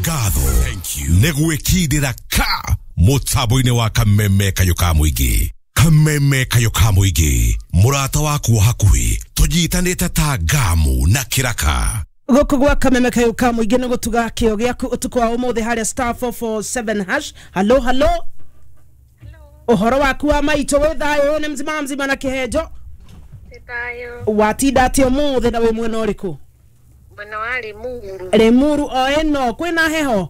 Ngatho nĩ gwĩkindĩra ka mũtambo-inĩ wa Kameme Kayũ ka Mũingĩ. Kameme Kayũ ka Mũingĩ, mũrata waku wa hakuhĩ, tũnyitanĩte ta ngamu na kĩraka. Gũkũ gwa Kameme Kayũ ka Mũingĩ nĩ gũtuga kĩo gĩaku ũtukũ wa ũmũthĩ harĩa star 447 hash. Halo halo, ũhoro waku wa maitũ wĩ thayũ? Nĩ mzima mzima na kĩhenjo? Thayo. Watinda atĩa ũmũthĩ na wĩ mwena ũrĩkũ? Mwena wa Limuru. Limuru o ĩno kwĩna heho?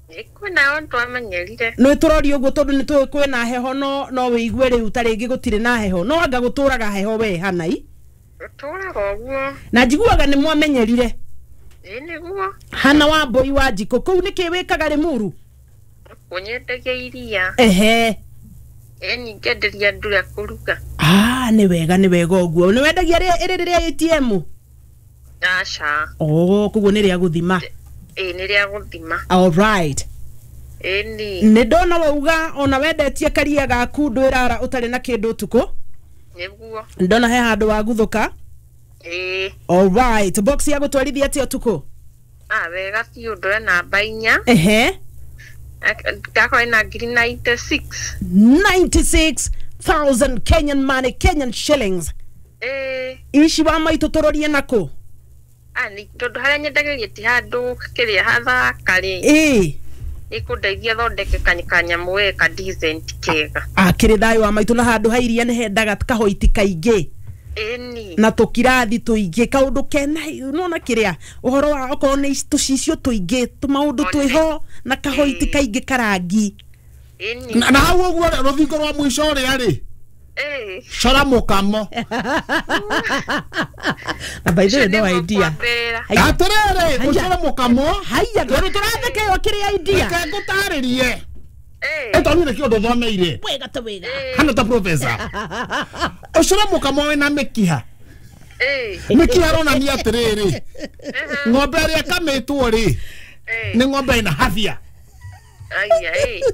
Kwĩna o twamenyerire. Nĩ tũroria ũguo tondũ nĩ tũĩ kwĩna heho, no wĩigue rĩu ta rĩngĩ gũtirĩ na heho, no anga gũtũraga heho we hanai. Tũraga ũguo. Na njiguaga nĩ mwamenyerire. Ĩ nĩguo. Hana wa mbũi wa njikũ kũu nĩkĩ wĩkaga Limuru? Kũnyendagia iria. Ehe. Ĩ ningĩenderia andũ rĩa kũruga. Ah, nĩ wega, nĩ wega ũguo. Nĩ wendagia ĩrĩ rĩrĩa ATM? Aca. Oh, koguo nĩ rĩa gũthima. Ĩ nĩ rĩa gũthima. All right. Ĩni. Nĩ ndona wauga ona wendetie karia gaku ndwĩrara ũtarĩ na kĩndũ ũtukũ. Nĩguo. Ndona he handũ waguthũka. Ĩ. All right. Box ya gũtwarithia atĩa ũtukũ? Ah, wega biũ, ndore namba 4. Ehe. Ndakora ina ngiri 96. 96,000 Kenyan money, Kenyan shillings. Ĩ. Ici wa maitũ tũrorie nakũ? Ah, nĩ tondũ harĩa nyendagĩria ti handũ kĩrĩa hathaka rĩ. Ĩ. Nĩkũndeithia thondeke kanyamũ we ka decent kega. Akĩrĩ thayũ wa maitũ, na handũ ha iria nĩ hendaga kahoiti kaingĩ. Ĩni. Na tũkirathi tũingĩ, kaũndũ kena nona kĩrĩa ũhoro wa okorwo nĩ tũcicio tũingĩ tũmaũndũ twĩho na kahoiti kaingĩ karangi. Ĩni. Na hau ũguo rũthingo rwa mũico ũrĩa rĩ, cora mũkamo. Na by the way, no idea. Atĩrĩrĩ, ũcore mũkamo. Haiya, tondũ tũrathekeyo kĩrĩa idea. Reke ngũtarĩrie. Ĩtondũ nĩ kĩũndũ thomeire. Wega ta wega. Hana ta professor. Ũcore mũkamo wĩna mĩkiha. Mĩkiha ĩronania atĩrĩrĩ, ng'ombe ĩrĩa ĩkamĩtwo rĩ, nĩ ng'ombe ĩna habia. Aya,